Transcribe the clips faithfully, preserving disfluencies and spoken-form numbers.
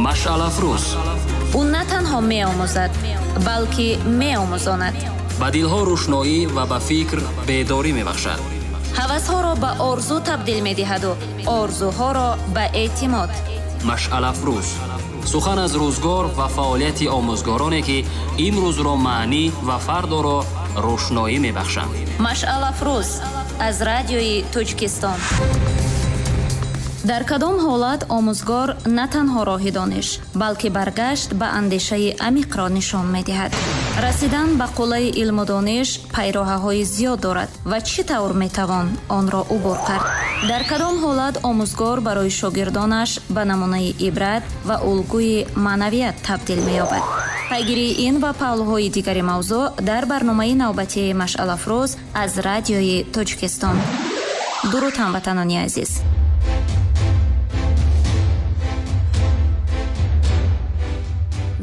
Машъалафрӯз. Ӯ на танҳо меомӯзад, балки меомӯзонад. Ба дилҳо рӯшноӣ ва ба фикр бедорӣ мебахшад. Ҳавасҳоро ба орзу табдил медиҳаду орзуҳоро ба эътимод. Машъалафрӯз. Сухан аз рӯзгор ва фаъолияти омӯзгороне, ки имрӯзро маънӣ ва фардоро рӯшноӣ мебахшанд. Машъалафрӯз аз радиои Тоҷикистон. Дар кадом ҳолат омӯзгор на танҳо роҳи дониш, балки баргашт ба андешаи амиқро нишон медиҳад? Расидан ба қуллаи илму дониш пайроҳаҳои зиёд дорад ва чӣ тавр метавон онро убур кард? Дар кадом ҳолат омӯзгор барои шогирдонаш ба намунаи ибрат ва улгӯи маънавият табдил меёбад? Пайгирии ин ва паҳлӯҳои дигари мавзӯъ дар барномаи навбатии Машъалафрӯз аз радиои Тоҷикистон. Дуруд ҳамватанони азиз!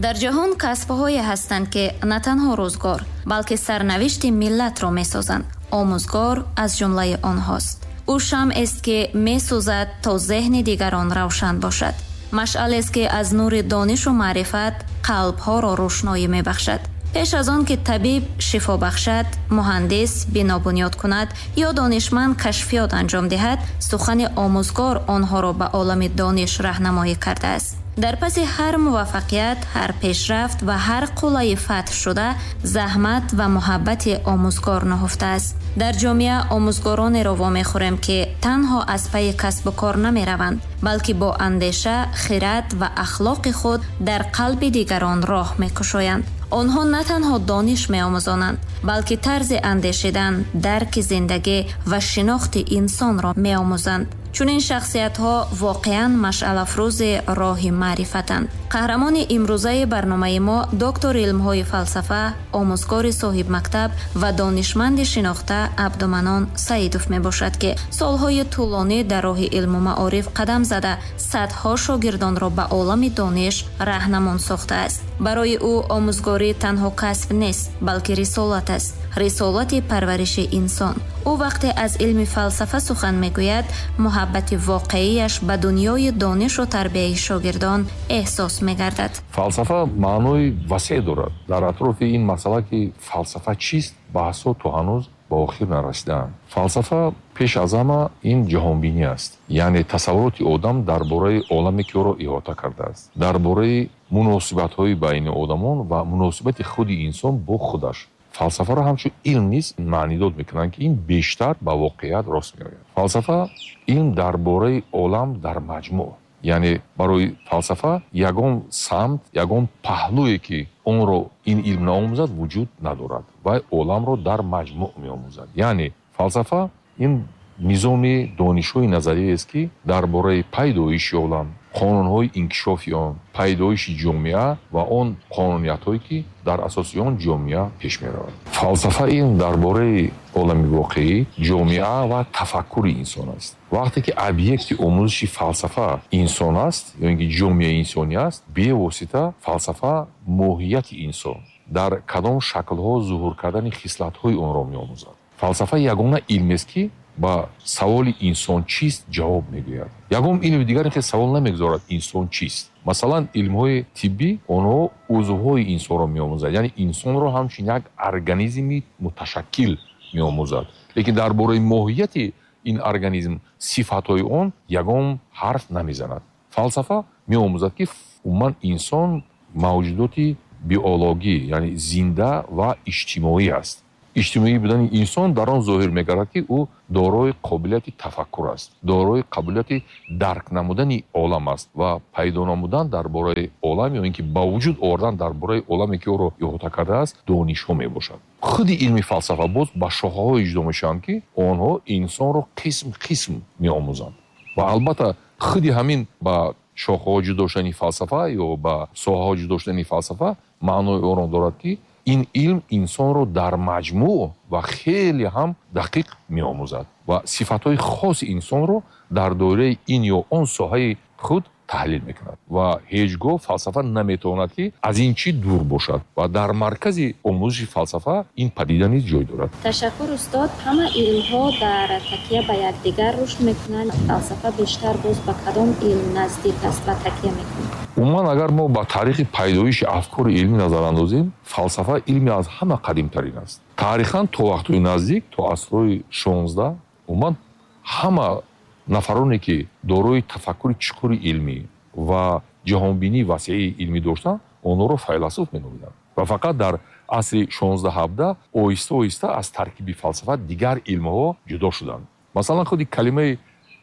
Дар ҷаҳон касбҳое ҳастанд, ки на танҳо рӯзгор, балки сарнавишти миллатро месозанд. Омӯзгор аз ҷумлаи онҳост. Ӯ шамъест, ки месӯзад то зеҳни дигарон равшан бошад. Машъалест, ки аз нури донишу маърифат қалбҳоро рӯшноӣ мебахшад. Пеш аз он ки табиб шифо бахшад, муҳандис бино бунёд кунад ё донишманд кашфиёт анҷом диҳад, сухани омӯзгор онҳоро ба олами дониш раҳнамоӣ кардааст. Дар паси ҳар муваффақият, ҳар пешрафт ва ҳар қуллаи фатҳ шуда, заҳмат ва муҳаббати омӯзгор нуҳуфтааст. Дар ҷомеа омӯзгоронеро вомехӯрем, ки танҳо аз пайи касбу кор намераванд, балки бо андеша, хират ва ахлоқи худ дар қалби дигарон роҳ мекушоянд. Онҳо на танҳо дониш меомӯзонанд, балки тарзи андешидан, дарки зиндагӣ ва шинохти инсонро меомӯзанд. Чунин шахсиятҳо воқеан машъалафрӯзи роҳи маърифатанд. Қаҳрамони имрӯзаи барномаи мо доктори илмҳои фалсафа, омӯзгори соҳибмактаб ва донишманди шинохта Абдуманон Саидов мебошад, ки солҳои тӯлонӣ дар роҳи илму маориф қадам зада, садҳо шогирдонро ба олами дониш раҳнамон сохтааст. Барои ӯ омӯзгорӣ танҳо касб нест, балки рисолат аст. Рисолати парвариши инсон. Ӯ вақте аз илми фалсафа сухан мегӯяд, муҳаббати воқеияш ба дунёи донишу тарбияи шогирдон эҳсос мегардад. Фалсафа маънои васеъ дорад. Дар атрофи ин масъала, ки фалсафа чист, баҳсҳо то ҳанӯз ба охир нарасидаанд. Фалсафа пеш аз ҳама ин ҷаҳонбинӣ аст, яъне тасаввуроти одам дар бораи оламе, ки ӯро иҳота кардааст, дар бораи муносибатҳои байни одамон ва муносибати худи инсон бо худаш. Фалсафаро ҳамчун илм низ маънидод мекунанд, ки ин бештар ба воқеият рост меояд. Фалсафа илм дар бораи олам дар маҷмӯъ, яъне барои фалсафа ягон самт, ягон паҳлӯе, ки онро ин илм наомӯзад, вуҷуд надорад. Вай оламро дар маҷмӯъ меомӯзад. Яъне фалсафа ин низоми донишҳои назариест, ки дар бораи пайдоиши олам, қонунҳои инкишофи он, пайдоиши ҷомеа ва он қонуниятҳое, ки дар асоси он ҷомеа пеш меравад. Фалсафа ин дар бораи олами воқеӣ, ҷомеа ва тафаккури инсон аст. Вақте ки объекти омӯзиши фалсафа инсон аст, ё ин ки ҷомеаи инсонӣ аст, бевосита фалсафа моҳияти инсон, дар кадом шаклҳо зуҳур кардани хислатҳои онро меомӯзад. Фалсафа ягона илмест, ки ба саволи инсон чист ҷавоб мегӯяд. Ягон илми дигар ин савол намегузорад инсон чист. Масалан, илмҳои тиббӣ онҳо узвҳои инсонро меомӯзад, яъне инсонро ҳамчун як организми муташаккил меомӯзад. Лекин дар бораи моҳияти ин организм, сифатҳои он ягон ҳарф намезанад. Фалсафа меомӯзад, ки умуман инсон мавҷудоти биологӣ, яъне зинда ва иҷтимоӣ аст. Иҷтимоӣ будани инсон дар он зоҳир мегардад, ки ӯ дорои қобилияти тафаккур аст, дорои қобилияти дарк намудани олам аст ва пайдо намудан дар бораи олам ё ин ки ба вуҷуд овардан дар бораи оламе, ки ӯро иҳота кардааст, донишҳо мебошад. Худи илми фалсафа боз ба шохаҳое ҷудо мешаванд, ки онҳо инсонро қисм қисм меомӯзанд. Ва албатта худи ҳамин ба шохаҳо ҷудо шудани фалсафа ё ба соҳаҳо ҷудо шудани фалсафа маънои онро дорад, ки ин илм инсонро дар маҷмӯъ ва хеле ҳам дақиқ меомӯзад ва сифатҳои хоси инсонро дар доираи ин ё он соҳаи худ таҳлил мекунад ва ҳеҷ гоҳ фалсафа наметавонад, ки аз ин чӣ дур бошад ва дар маркази омӯзиши фалсафа ин падида низ ҷой дорад. Ташаккур, устод. Ҳама илмҳо дар такя ба якдигар рушд мекунанд. Фалсафа бештар боз ба кадом илм наздик аст ва такя мекунад? Умуман, агар мо ба таърихи пайдоиши афкори илмӣ назар андозем, фалсафа илми аз ҳама қадимтарин аст. Таърихан то вақтҳои наздик, то асрҳои шонздаҳ, умуман ҳама нафароне, ки дорои тафаккури чуқури илмӣ ва ҷаҳонбинии васеи илмӣ доштанд, онҳоро файласуф меномиданд. Ва фақат дар асри шонздаҳ ҳабдаҳ оҳиста оҳиста аз таркиби фалсафа дигар илмҳо ҷудо шуданд. Масалан, худи калимаи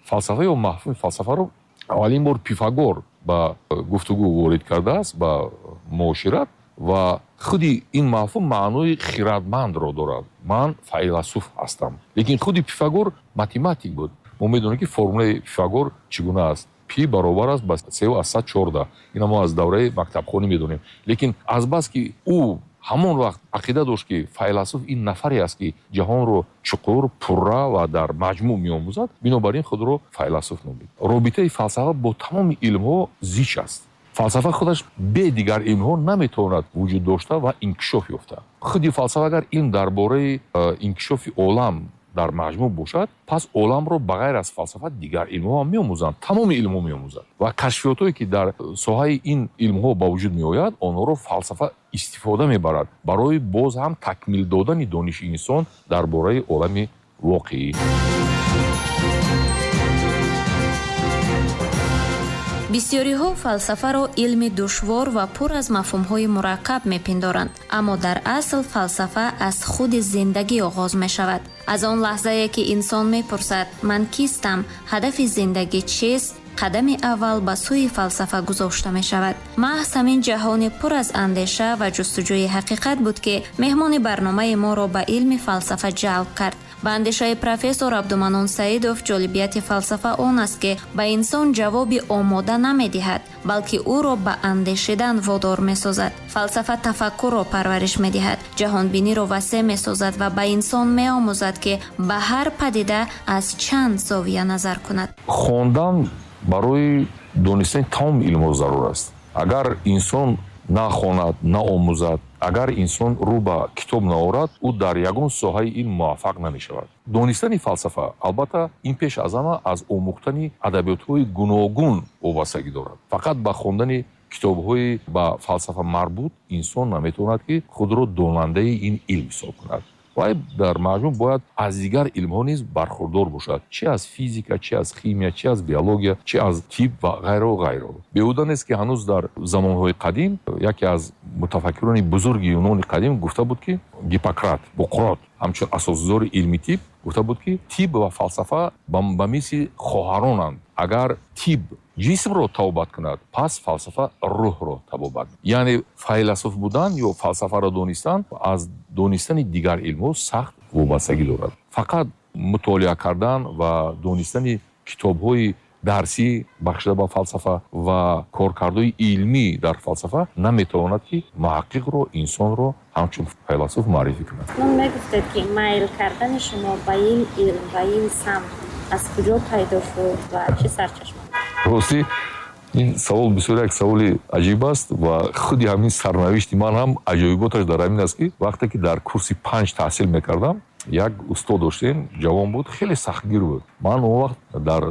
фалсафа ё мафҳуми фалсафаро аввалин бор Пифагор ба гуфтугӯ ворид кардааст, ба муошират, ва худи ин мафҳум маънои хирадмандро дорад. Ман файласуф ҳастам. Лекин худи Пифагор математик буд. Мо медонем, ки формулаи Пифагор чӣ гуна аст. Пи баробар аст ба се аз сад чордаҳ. Ина мо аз давраи мактабхонӣ медонем. Лекин азбаски ӯ ҳамон вақт ақида дошт, ки файласуф ин нафаре аст, ки ҷаҳонро чуқур, пурра ва дар маҷмӯъ меомӯзад, бинобар ин худро файласуф номид. Робитаи фалсафа бо тамоми илмҳо зич аст. Фалсафа худаш бе дигар илмҳо наметавонад вуҷуд дошта ва инкишоф ёфта. Худи фалсафа агар илм дар бораи инкишофи олам дар маҷмӯъ бошад, пас оламро ба ғайр аз фалсафа дигар илмҳо ҳам меомӯзанд. Тамоми илмҳо меомӯзанд ва кашфиётҳое, ки дар соҳаи ин илмҳо ба вуҷуд меояд, онҳоро фалсафа истифода мебарад барои боз ҳам такмил додани дониши инсон дар бораи олами воқеӣ. Бисёриҳо фалсафаро илми душвор ва пур аз мафҳумҳои мураккаб мепиндоранд, аммо дар асл фалсафа аз худи зиндагӣ оғоз мешавад. Аз он лаҳзае, ки инсон мепурсад: ман кистам, ҳадафи зиндагӣ чист, қадами аввал ба сӯи фалсафа гузошта мешавад. Маҳз ҳамин ҷаҳони пур аз андеша ва ҷустуҷӯи ҳақиқат буд, ки меҳмони барномаи моро ба илми фалсафа ҷалб кард. Ба андешаи профессор Абдуманнон Саидов, ҷолибияти фалсафа он аст, ки ба инсон ҷавоби омода намедиҳад, балки ӯро ба андешидан водор месозад. Фалсафа тафаккурро парвариш медиҳад, ҷаҳонбиниро васеъ месозад ва ба инсон меомӯзад, ки ба ҳар падида аз чанд зовия назар кунад. Хондан барои донистани тамоми илмҳо зарур аст. Агар инсон нахонад, наомӯзад, агар инсон рӯ ба китоб наорад, ӯ дар ягон соҳаи илм муваффақ намешавад. Донистани фалсафа албатта ин пеш аз ҳама аз омӯхтани адабиётҳои гуногун вобастагӣ дорад. Фақат ба хондани китобҳои ба фалсафа марбут инсон наметавонад, ки худро донандаи ин илм ҳисоб кунад. Вай дар маҷмӯъ бояд аз дигар илмҳо низ бархурдор бошад, чи аз физика, чи аз химия, чи аз биология, чи аз тиб ва ғайро ғайро. Беҳуда нест, ки ҳанӯз дар замонҳои қадим яке аз мутафаккирони бузурги юнони қадим гуфта буд, ки Гиппократ, Буқрот, ҳамчун асосгузори илми тиб гуфта буд, ки тиб ва фалсафа ба мисли хоҳаронанд. Агар тиб ҷисмро табобат кунад, пас фалсафа рӯҳро табобат. Яъне файласуф будан ё фалсафаро донистан аз донистани дигар илмҳо сахт вобастагӣ дорад. Фақат мутолиа кардан ва донистани китобҳои дарсӣ бахшида ба фалсафа ва коркардҳои илмӣ дар фалсафа наметавонад, ки муҳаққиқро, инсонро ҳамчун файласуф муаррифӣ кунад. Ман мегуфтед, ки майл кардани шумо ба ин илм, ба ин самт аз куҷо пайдо шуд ва чӣ сарчашма? Ростӣ, ин савол бисёр як саволи аҷиб аст ва худи ҳамин сарнавишти ман ҳам аҷоиботаш дар ҳамин аст, ки вақте ки дар курси панҷ таҳсил мекардам, як устод доштем, ҷавон буд, хеле сахтгир буд. Ман он вақт дар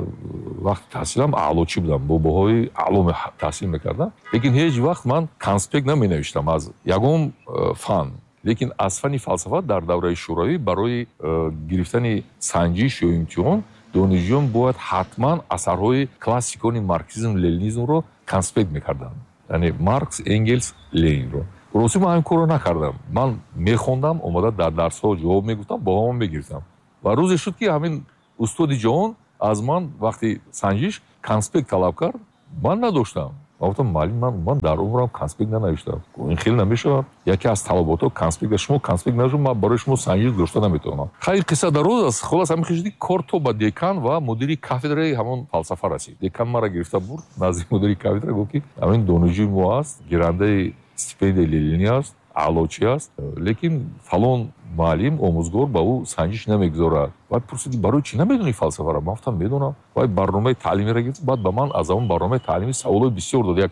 вақти таҳсилам аълочӣ будам, бо баҳои аъло таҳсил мекардам, лекин ҳеҷ вақт ман конспект наменавиштам аз ягон фан. Лекин аз фани фалсафа дар давраи шӯравӣ барои гирифтани санҷиш ё имтиҳон донишҷӯён бояд ҳатман асарҳои классикони марксизм ленинизмро конспект мекарданд, яъне Маркс, Энгелс, Ленинро. Ростӣ, ман ҳамин корро накардам. Ман мехондам, омада дар дарсҳо ҷавоб мегуфтам, баҳоам мегирифтам. Ва рӯзе шуд, ки ҳамин устоди ҷавон аз ман вақти санҷиш конспект талаб кард. Ман надоштам. Ман гуфтам: муаллим, ман ман дар умрам конспект нанавиштам. Ин хеле намешавад. Яке аз талаботҳо конспект. Шумо конспект навишед, ман барои шумо санҷиш гузошта наметавонам. Хайр, қисса дароз аст. Хулос, ҳамин хел шуд, ки кор то ба декан ва мудири кафедраи ҳамон фалсафа расид. Декан маро гирифта бурд назди мудири кафедра, гуфт, ки ҳамин донишҷӯи мо аст, гирандаи стипендияи ленинӣ аст, аълочӣ аст, лекин фалон Муаллим, омӯзгор ба ӯ санҷиш намегузорад. Вай пурсид, барои чӣ намедонӣ фалсафаро? Ман гуфтам, медонам. Вай барномаи таълимиро гирифт, баъд ба ман аз ҳамон барномаи таълимӣ саволҳои бисёр дод. Як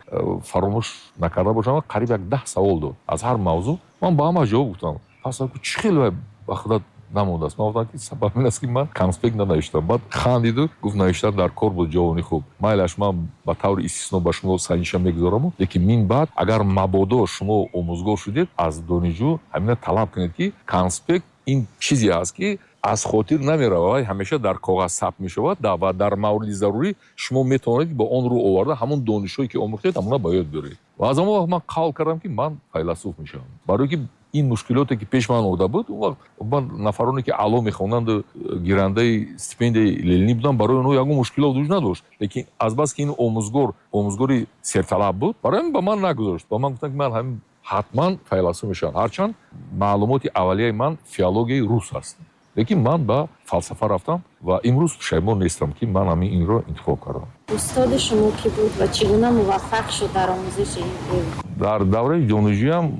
фаромӯш накарда бошам, қариб як даҳ савол дод аз ҳар мавзӯъ. Ман ба ҳама ҷавоб гуфтам. Пас чӣ хел вай ба худат намондааст? Ман гуфтам, ки сабаб ин аст, ки ман конспект нанавиштам. Баъд хандиду гуфт, навиштан дар кор буд, ҷавони хуб. Майлаш, ман ба таври истисно ба шумо санҷиша мегузораму, лекин мин баъд агар мабодо шумо омӯзгор шудед, аз донишҷӯ ҳамина талаб кунед, ки конспект ин чизе аст, ки аз хотир намеравад, вай ҳамеша дар коғаз сабт мешавад ва дар мавриди зарурӣ шумо метавонед бо он рӯ оварда ҳамон донишҳое, ки омӯхтед, ҳамона ба ёд биёред. Ва аз он вақт ман қавл кардам, ки ман файласуф мешавам. Барои ки ин мушкилоте, ки пеш ман омада буд, он вақт ман нафароне, ки аъло мехонданду, гирандаи стипендияи Ленинӣ буданд, барои онҳо ягон мушкилот вуҷуд надошт. Лекин азбаски ин омӯзгор омӯзгори серталаб буд, барои ҳамин ба ман нагузошт. Ба ман гуфтанд, ки ман ҳамин ҳатман файласуф мешавам. Ҳарчанд маълумоти аввалияи ман филологияи рус аст, лекин ман ба фалсафа рафтам ва имрӯз пушаймон нестам, ки ман ҳамин инро интихоб кардам. Устоди шумо кӣ буд ва чӣ гуна муваффақ шуд дар омӯзиши ин илм? Дар давраи донишҷӯям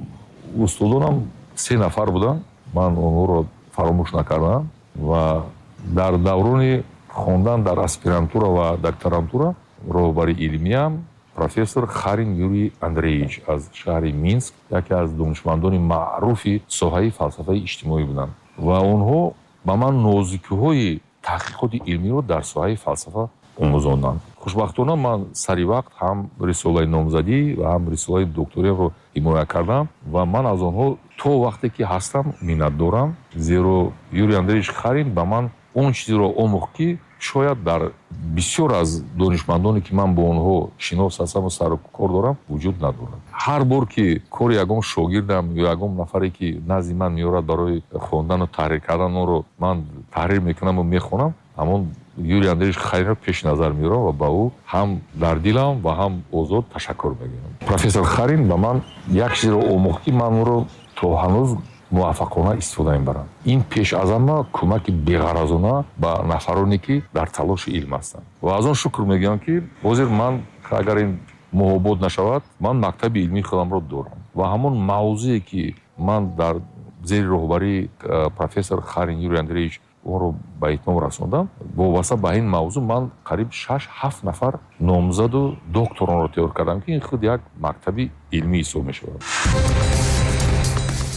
устодонам се нафар буданд, ман онҳоро фаромӯш накардам. Ва дар даврони хондан дар аспирантура ва докторантура роҳбари илмиям профессор Харин Юрий Андреевич аз шаҳри Минск, яке аз донишмандони маъруфи соҳаи фалсафаи иҷтимоӣ буданд ва онҳо ба ман нозикиҳои таҳқиқоти илмиро дар соҳаи фалсафа омӯзонданд. Хушбахтона ман сари вақт ҳам рисолаи номзадӣ ва ҳам рисолаи докториямро ҳимоя кардам ва ман аз онҳо то вақте ки ҳастам миннатдорам, зеро Юрий Андреевич Харин ба ман он чизеро омӯхт, ки шояд дар бисёр аз донишмандоне, ки ман бо онҳо шинос ҳастам ва сару кор дорам, вуҷуд надорад. Ҳар бор ки кори ягон шогирдам ё ягон нафаре, ки назди ман меорад барои хондану таҳрир кардан, онро ман таҳрир мекунаму мехонам, ҳамон Юрий Андреевич Харинро пеши назар меорам ва ба ӯ ҳам дар дилам ва ҳам озод ташаккур мегӯям. Профессор Харин ба ман як чизеро омӯхт, ки ман онро то ҳанӯз муваффақона истифода мебарам. Ин пеш аз ҳама кӯмаки беғаразона ба нафароне, ки дар талоши илм ҳастанд. Ва аз он шукр мегӯям, ки ҳозир ман, агар ин муҳобот нашавад, ман мактаби илмии худамро дорам ва ҳамон мавзӯе, ки ман дар зери роҳбарии профессор Харин Юрий Андреевич онро ба итмом расондам, вобаста ба ин мавзӯъ ман қариб шаш ҳафт нафар номзаду докторонро тайёр кардам, ки ин худ як мактаби илмӣ ҳисоб мешавад.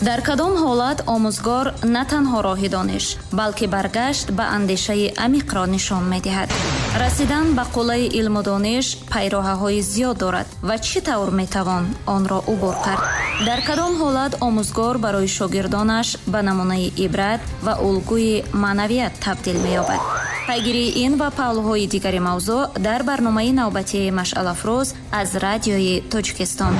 Дар кадом ҳолат омӯзгор на танҳо роҳи дониш, балки баргашт ба андешаи амиқро нишон медиҳад? Расидан ба қуллаи илму дониш пайроҳаҳои зиёд дорад ва чӣ тавр метавон онро убур кард? Дар кадом ҳолат омӯзгор барои шогирдонаш ба намунаи ибрат ва улгӯи маънавият табдил меёбад? Пайгирии ин ва паҳлӯҳои дигари мавзӯъ дар барномаи навбатии Машъалафрӯз аз Радиои Тоҷикистон.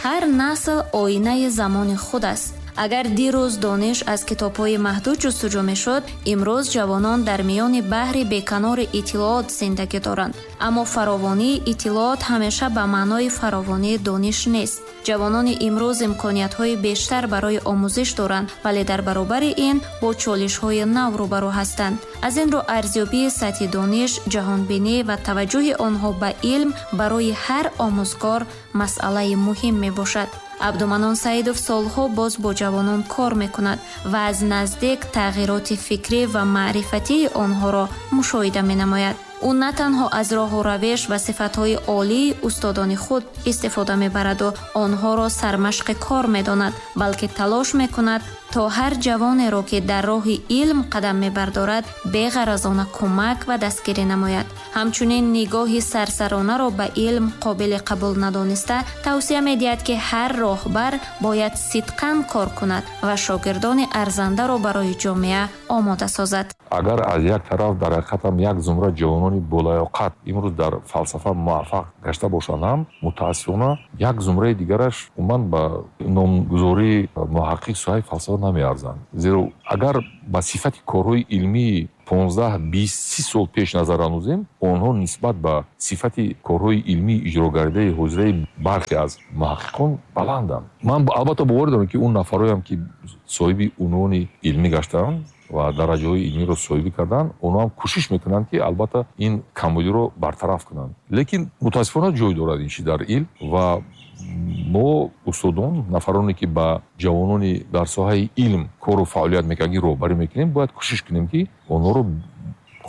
Ҳар насл оинаи замони худ аст. Агар дирӯз дониш аз китобҳои маҳдуд ҷустуҷӯ мешуд, имрӯз ҷавонон дар миёни баҳри беканори иттилоот зиндагӣ доранд. Аммо фаровонии иттилоот ҳамеша ба маънои фаровонии дониш нест. Ҷавонони имрӯз имкониятҳои бештар барои омӯзиш доранд, вале дар баробари ин бо чолишҳои нав рӯбарӯ ҳастанд. Аз ин рӯ арзёбии сатҳи дониш, ҷаҳонбинӣ ва таваҷҷӯҳи онҳо ба илм барои ҳар омӯзгор масъалаи муҳим мебошад. Абдуманон Саидов солҳо боз бо ҷавонон кор мекунад ва аз наздик тағйироти фикрӣ ва маърифатии онҳоро мушоҳида менамояд. Ӯ на танҳо аз роҳу равиш ва сифатҳои олии устодони худ истифода мебараду онҳоро сармашқи кор медонад, балки талош мекунад то ҳар ҷавонеро, ки дар роҳи илм қадам мебардорад, беғаразона кӯмак ва дастгирӣ намояд. Ҳамчунин нигоҳи сарсаронаро ба илм қобили қабул надониста тавсия медиҳад, ки ҳар роҳбар бояд сидқан кор кунад ва шогирдони арзандаро барои ҷомеа омода созад. Агар аз як тараф дар ҳақиқатам як зумра ҷавонони болаёқат имрӯз дар фалсафа муваффақ гашта бошанд ҳам, мутаассифона як зумраи дигараш умуман ба номгузории муҳаққиқ соҳаи фалсафа намеарзанд. Зеро агар ба сифати корҳои илмии понздаҳ, бист, си сол пеш назар андозем, онҳо нисбат ба сифати корҳои илмии иҷрогардаи ҳозираи бархе аз муҳаққиқон баланданд. Ман албатта бовар дорам, ки он нафарҳоям, ки соҳиби унвони илмӣ гаштаанд ва дараҷаҳои илмиро соҳибӣ карданд, онҳо ҳам кӯшиш мекунанд, ки албатта ин камбудиро бартараф кунанд. Лекин мутаассифона ҷой дорад ин чиз дар илм ва Мо устодон, нафароне ки ба ҷавонони дар соҳаи илм кору фаъолият мекунанд, роҳбарӣ мекунем, бояд кӯшиш кунем, ки онҳоро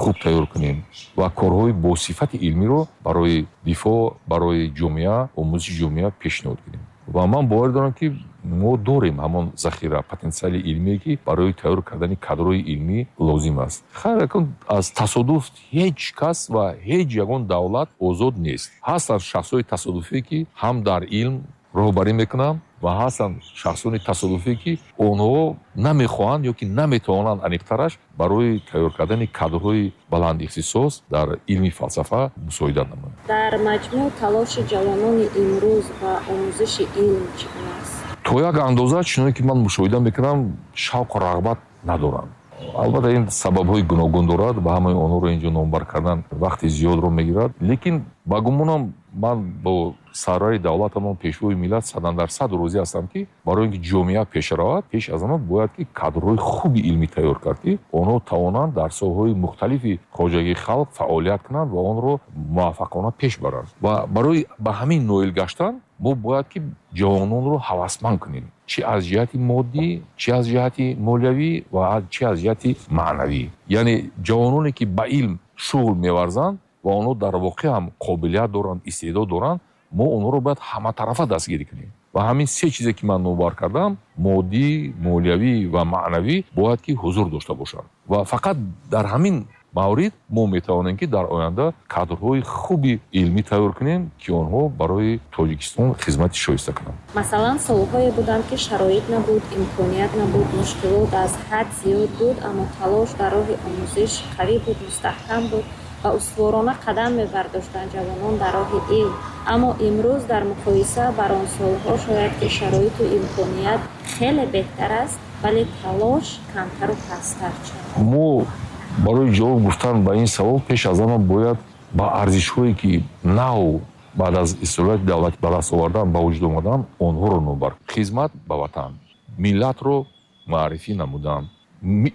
хуб тайёр кунем ва корҳои бо сифати илмиро барои дифоъ, барои ҷомеа, омӯзиши ҷомеа пешниҳод кунем. Ва ман бовар дорам, ки мо дорем ҳамон захира, потенсиали илмие, ки барои тайёр кардани кадрҳои илмӣ лозим аст. Хайр, акун аз тасодуф ҳеҷ кас ва ҳеҷ ягон давлат озод нест. Ҳастанд шахсҳои тасодуфие, ки ҳам дар илм роҳбарӣ мекунанд ва ҳастанд шахсони тасодуфие, ки онҳо намехоҳанд ё ки наметавонанд, аниқтараш, барои тайёр кардани кадрҳои баландихтисос дар илми фалсафа мусоидат намоянд. Дар маҷмӯъ талоши ҷавонони имрӯз ба омӯзиши илм чӣ гуна аст? То як андоза, чуноне ки ман мушоҳида мекунам, шавқу рағбат надоранд. Албатта, ин сабабҳои гуногун дорад, ба ҳамаи онҳоро инҷо номбар кардан вақти зиёдро мегирад, лекин ба гумонам ман бо сарвари давлатамон, пешвои миллат садандарсад розӣ ҳастам, ки барои ин ки ҷомеа пеш равад, пеш аз ҳама бояд ки кадрҳои хуби илмӣ тайёр кард, ки онҳо тавонанд дар соҳаҳои мухталифи хоҷагии халқ фаъолият кунанд ва онро муваффақона пеш баранд. Ва барои ба ҳамин ноил гаштан мо бояд ки ҷавононро ҳавасманд кунем, чӣ аз ҷиҳати моддӣ, чӣ аз ҷиҳати молиявӣ ва чӣ аз ҷиҳати маънавӣ. Яъне ҷавононе ки ба илм шуғл меварзанд ва онҳо дар воқеъ ҳам қобилият доранд, истеъдод доранд, мо онҳоро бояд ҳаматарафа дастгирӣ кунем. Ва ҳамин се чизе ки ман номбар кардам, моддӣ, молиявӣ ва маънавӣ, бояд ки ҳузур дошта бошанд. Ва фақат дар ҳамин маврид мо метавонем, ки дар оянда кадрҳои хуби илмӣ тайёр кунем, ки онҳо барои Тоҷикистон хизмати шоиста кунанд. Масалан, солҳое буданд, ки шароит набуд, имконият набуд, мушкилот аз ҳад зиёд буд, аммо талош дар роҳи омӯзиш қавӣ буд, мустаҳкам буд ва устуворона қадам мебардоштанд ҷавонон дар роҳи илм. Аммо имрӯз дар муқоиса бар он солҳо шояд ки шароиту имконият хеле беҳтар аст, вале талош камтару пасттар. Чаро? Мо барои ҷавоб гуфтан ба ин савол пеш аз ҳама бояд ба арзишҳое, ки нав баъд аз истиқлолияти давлатӣ ба даст овардан, ба вуҷуд омадан, онҳоро номбар. Хизмат ба ватан, миллатро маърифӣ намудан,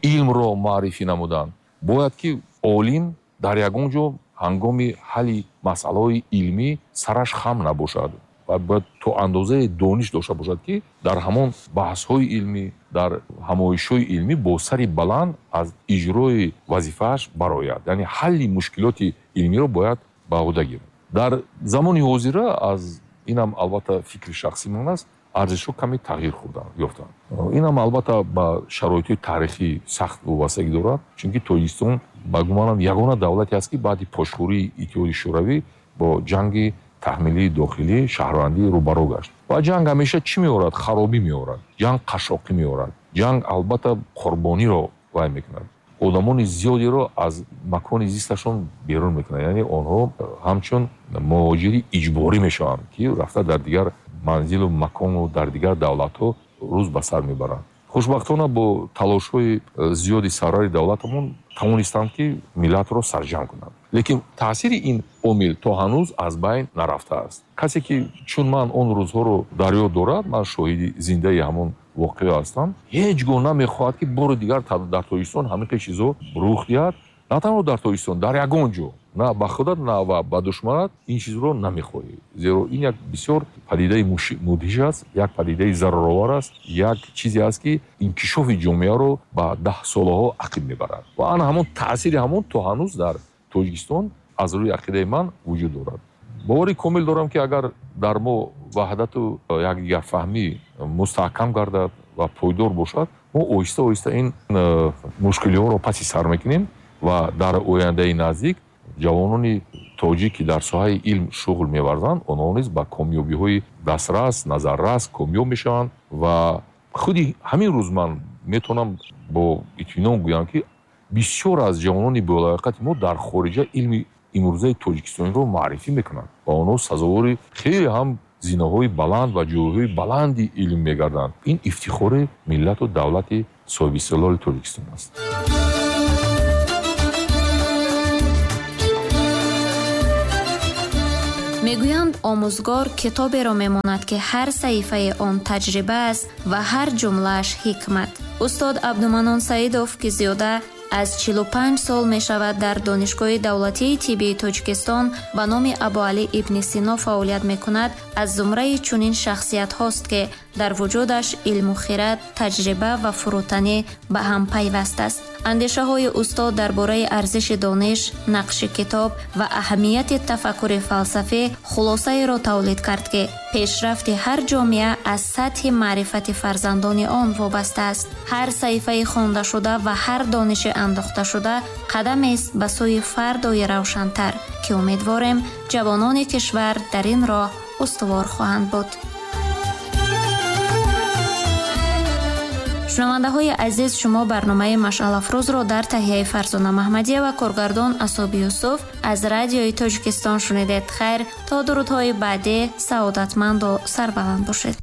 илмро маърифӣ намудан. Бояд ки олим дар ягон ҷо ҳангоми ҳалли масъалаҳои илмӣ сараш хам набошад ва бояд то андозаи дониш дошта бошад, ки дар ҳамон баҳсҳои илмӣ, дар ҳамоишҳои илмӣ бо сари баланд аз иҷрои вазифааш барояд. Яъне ҳалли мушкилоти илмиро бояд ба уҳда гирад. Дар замони ҳозира, аз инам албатта фикри шахсии ман аст, арзишҳо каме тағйир хӯрданд, ёфтанд. Инам албатта ба шароити таърихӣ сахт вобастагӣ дорад, чунки Тоҷикистон ба гумонам ягона давлате аст, ки баъди пошхӯрии Иттиҳоди Шӯравӣ бо ҷанги таҳмилии дохилӣ шаҳрвандӣ рӯбарӯ гашт. Ва ҷанг ҳамеша чӣ меорад? Харобӣ меорад, ҷанг қашшоқӣ меорад, ҷанг албатта қурбониро вай мекунад, одамони зиёдеро аз макони зисташон берун мекунад. Яъне онҳо ҳамчун муҳоҷири иҷборӣ мешаванд, ки рафта дар дигар манзилу макону дар дигар давлатҳо рӯз ба сар мебаранд. Хушбахтона бо талошҳои зиёди сарвари давлатамон тавонистанд, ки миллатро сарҷамъ кунанд. Лекин таъсири ин омил то ҳанӯз аз байн нарафтааст. Касе ки чун ман он рӯзҳоро дар ёд дорад, ман шоҳиди зиндаи ҳамон воқеа ҳастам, ҳеҷ гоҳ намехоҳад, ки бори дигар дар Тоҷикистон ҳамин хел чизҳо рух диҳад. На танҳо дар Тоҷикистон, дар ягон ҷо, на ба худат, на ба душманат ин чизро намехоҳӣ. Зеро ин як бисёр падидаи мудҳиш аст, як падидаи зараровар аст, як чизе аст, ки инкишофи ҷомеаро ба даҳсолаҳо ақиб мебарад. Ва ана ҳамон таъсири ҳамон то ҳанӯз дар Тоҷикистон аз рӯи ақидаи ман вуҷуд дорад. Бовари комил дорам, ки агар дар мо ваҳдату якдигарфаҳмӣ мустаҳкам гардад ва пойдор бошад, мо оҳиста оҳиста ин мушкилиҳоро паси сар мекунем ва дар ояндаи наздик ҷавонони тоҷик, ки дар соҳаи илм шуғл меварзанд, онҳо низ ба комёбиҳои дастрас, назаррас комёб мешаванд. Ва худи ҳамин рӯз ман метавонам бо итминон гӯям, ки бисёр аз ҷавонони болаёқати мо дар хориҷа илми имрӯзаи тоҷикистониро маърифӣ мекунанд ва онҳо сазовори хеле ҳам зинаҳои баланд ва ҷойҳои баланди илм мегарданд. Ин ифтихори миллату давлати соҳибистиқлоли Тоҷикистон аст. Мегӯянд, омӯзгор китоберо мемонад, ки ҳар саҳифаи он таҷриба аст ва ҳар ҷумлааш ҳикмат. Устод Абдуманон Саидов, ки зиёда аз чилу панҷ сол мешавад дар Донишгоҳи давлатии тиббии Тоҷикистон ба номи Абуалӣ ибни Сино фаъолият мекунад, аз зумраи чунин шахсиятҳост, ки дар вуҷудаш илму хирад, таҷриба ва фурӯтанӣ ба ҳам пайваст аст. Андешаҳои устод дар бораи арзиши дониш, нақши китоб ва аҳамияти тафаккури фалсафӣ хулосаеро тавлид кард, ки пешрафти ҳар ҷомеа аз сатҳи маърифати фарзандони он вобаста аст. Ҳар саҳифаи хондашуда ва ҳар дониши андохташуда қадамест ба сӯи фардои равшантар, ки умедворем ҷавонони кишвар дар ин роҳ устувор хоҳанд буд. Шунавандаҳои азиз, шумо барномаи Машъалафрӯзро дар таҳияи Фарзона Маҳмадия ва коргардон Асоби Юсуф аз Радиои Тоҷикистон шунидед. Хайр, то дурудҳои баъдӣ саодатманду сарбаланд бошед.